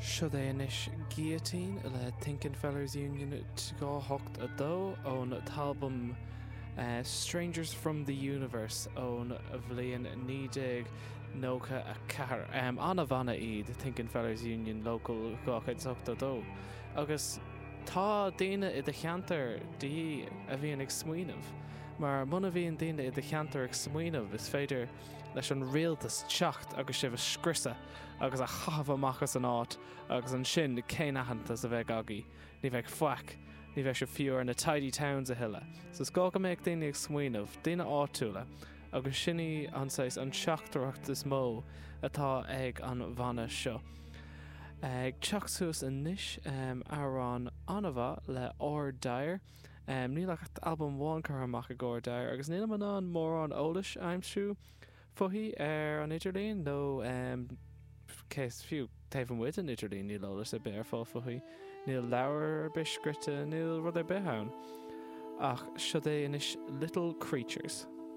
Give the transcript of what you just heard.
Siod é anois Guillotine le Thinkin' Fellers Union 282 ón t-albam Strangers From The Universe ón bhliain 1994. An-bhanna iad Thinkin' Fellers Union Local 282 agus tá daoine i do cheantar de dhíth a bhíonn ag smaoineamh mar muna bhíonn daoine i do cheantar ag smaoineamh is féidir leis an rialtas teacht agus sibh a scriosadh agus a chaitheamh amach as an áit agus ansin cén aitheantas a bheidh agaibh? Ní bheidh faic. Ní bheidh sibh fiú ar na tidy towns a thuilleadh. So is gá go mbeadh daoine ag smaoineamh, daoine áitiúla, agus sin í an saghas, an teachtaireacht is mó atá ag an bhanna seo. Ag teacht suas anois, amhrán an-mhaith le R Dyer. Níl ach albam amháin curtha amach ag R Dyer agus nílim in ann mórán eolais a aimsiú fúithi ar an idirlíon nó cé is fiú taobh amuigh den idirlíon níl eolas ar bith ar fáil fúithi. Níl leabhar ar bith scríte, níl rud ar bith ann. Ach siod é anois Little Creatures.